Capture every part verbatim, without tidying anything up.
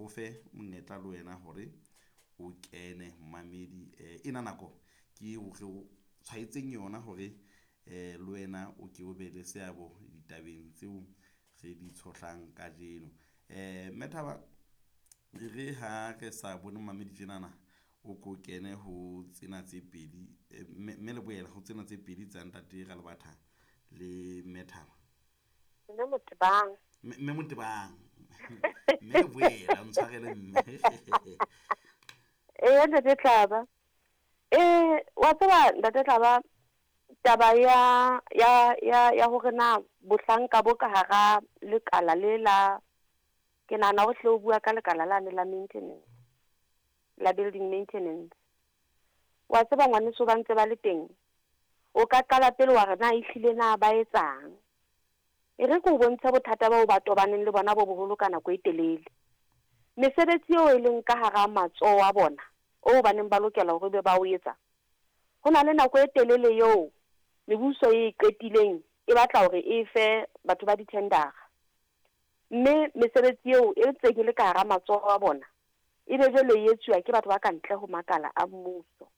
o fe monyetla le wena hore o kene momamedi. Eh, ena nako ke eo re o tshwaetseng yona hore eh le wena o ke o be le seabo ditabeng tseo re di tshohlang kajeno. Eh mme Thaba, e re ha re sa bone momamedi tjenana, o ko kene ho tsena tse pedi, mme mme Leboela ho tsena tse pedi tsa ntate Ralebatha le mme Thaba. Mme Motebang. Mme Motebang. Mme Leboela, o ntshwarele mme. Ee, ntate Tlaba. Eh, wa tseba ntate Tlaba, taba ya ya ya ya hore na bohlanka bo ka hara lekala le la, ke nahana o hle o bua ka lekala lane la maintenance, la building maintenance. Wa tseba ngwaneso ba ntse ba le teng, o ka qala pele wa re na ehlile na ba etsang. E re ke o bontshe bothata bao ba tobaneng le bona bo boholo ka nako e telele. Mesebetsi eo e leng ka hara matsoho a bona, oo ba neng ba lokela hore be ba o etsa, ho na le nako e telele eo mebuso e qetileng e batla hore e fe batho ba di-tender-a. Mme mesebetsi eo e ntseng e le ka hara matsoho a bona, e be jwale e etsuwa ke batho ba ka ntle ho makala a mmuso.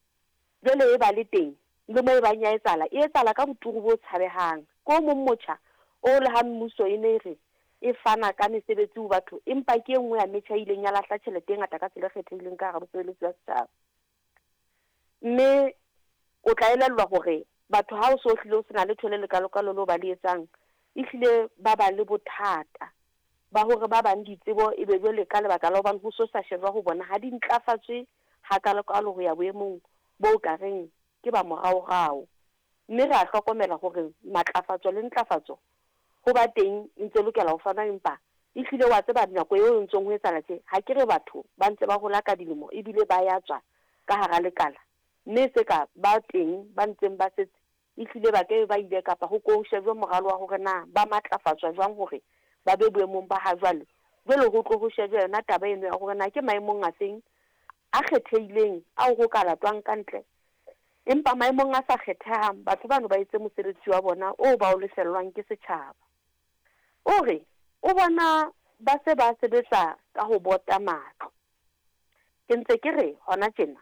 Jwale e ba le teng, le moo e bang ya etsahala, e etsahala ka boturu bo tshabehang. Ke o mong motjha o le ha mmuso e ne e re e fana ka mesebetsi ho batho, empa ke e nngwe ya metjha e ileng ya lahla tjhelete e ngata ka tsela e kgethehileng ka hara bosebeletsi ba setjhaba. Mme o tla elellwa hore batho ha o so hlile o sena letho le lekalokalo leo ba le etsang, ehlile ba ba le bothata ba hore ba bang ditsebo e be jwale ka lebaka la hobane ho so sa shejwa ho bona ha di ntlafatswe hakalokalo ho ya boemong bo ka reng ke ba moraorao. Mme re a hlokomela hore matlafatso le ntlafatso ho ba teng e ntse lokela ho fana, empa ehlile wa tseba nako eo e ntseng ho etsahala tje, ha ke re batho ba ntse ba hola ka dilemo ebile ba ya tswa ka hara lekala, mme se ka ba teng ba ntseng ba setse ehlile ba ke ba ile kapa ho ko shejwe moralo wa hore na ba matlafatswa jwang hore ba be boemong ba ha jwale. Jwale ho tlo ho shejwe yona taba eno ya hore na ke maemong a feng a kgethehileng ao ho ka latwang ka ntle, empa maemong a sa kgethehang batho bano ba etse mosebetsi wa bona oo ba o lefellwang ke setjhaba. O re o bona ba se ba sebetsa ka ho bota matlo. Ke ntse ke re hona tjena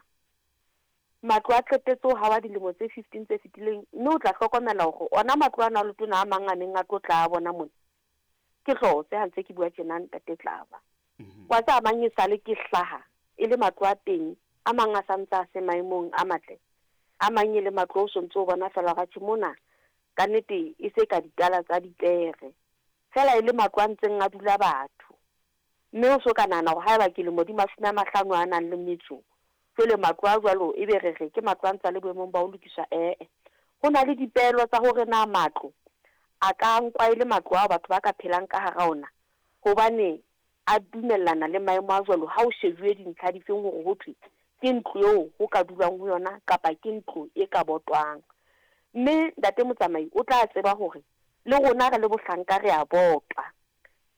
matlo a qetetse ho hawa dilemo tse fifteen tse fetileng, mme o tla hlokomela hore ona matlo ana a letona a mang a neng a tlo tla a bona mona ke hlotse ha ntse ke bua tjena ntate Tlaba. Wa tseba mang e sale ke hlaha e le matlo a teng, a mang a santse a se maemong a matle, a mang e le matlo o sontso o bona fela hore atjhe mona ka nnete e se ka ditala tsa dipere, fela e le matlo a ntseng a dula batho. Mme o so ka nahana hore haeba ke lemo di mashome a mahlano a nang le metso, jwale matlo a jwalo e be re re ke matlo a ntse a le boemong ba ho lokiswa. Ee, ho na le dipeelo tsa hore na matlo a ka nkwa e le matlo ao batho ba ka phelang ka hara ona, hobane a dumellana le maemo a jwalo ha o shejuwe dintlha difeng hore ho thwe ke ntlo eo ho ka dulwang ho yona kapa ke ntlo e ka botwang. Mme ntate motsamai o tla tseba hore le rona re le bohlanka re a botwa,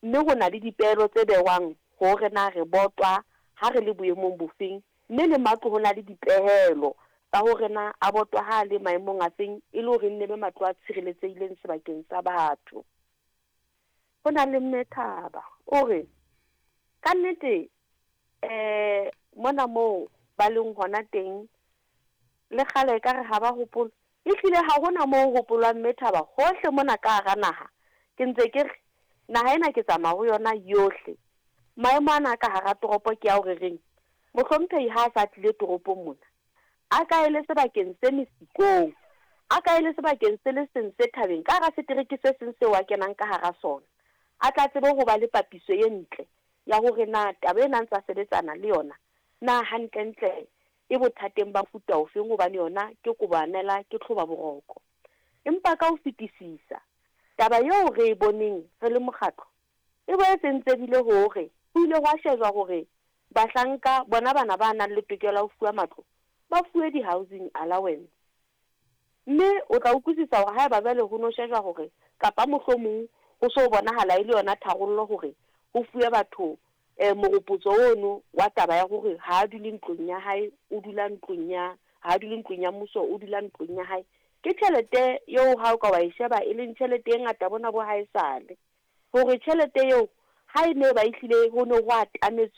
mme ho na le dipeelo tse bewang hore na re botwa ha re le boemong bofeng, mme le matlo ho na le dipehelo tsa hore na a botwa ha le maemong a feng e le hore nne be matlo a tshireletsehileng sebakeng sa batho. Ho na le mme Thaba o re ka nnete eh mona moo ba leng hona teng le kgale ka re ha ba hopole, ehlile ha hona moo hopolwang mme Thaba hohle mona ka hara naha. Ke ntse ke re naha ena ke tsamaya ho yona yohle, maemo ana ka hara toropo ke ao re reng mohlomphehi ha a sa tlile toropong mona a ka ele sebakeng se mesikong, a ka ele sebakeng se le seng se thabeng ka hara setereke se seng seo a kenang ka hara sona, a tla tsebe ho ba le papiso e ntle ya hore na taba ena ntse a sebetsana le yona na hantlentle e bothateng ba mofuta ofeng, hobane yona ke kobanela ke tlhoba boroko. Empa ka ho fetisisa taba eo re e boneng re le mokgatlo e boetse ntse bile hore ho ile hwa shejwa hore bahlanka bona bana ba nang le tokelo ya ho fuwa matlo ba fuwe di-housing allowance. Mme o tla utlwisisa hore haeba jwale ho no shejwa hore kapa mohlomong ho so bonahala e le yona tharollo hore ho fuwe batho eh moropotso ono wa taba ya hore ha a dule ntlong ya hae, o dula ntlong ya, ha a dule ntlong ya mmuso, o dula ntlong ya hae. Ke tjhelete eo ha o ka wa e sheba e leng tjhelete e ngata bona bo haesale, hore tjhelete eo ha e ne ba ehlile ho ne ho atametswe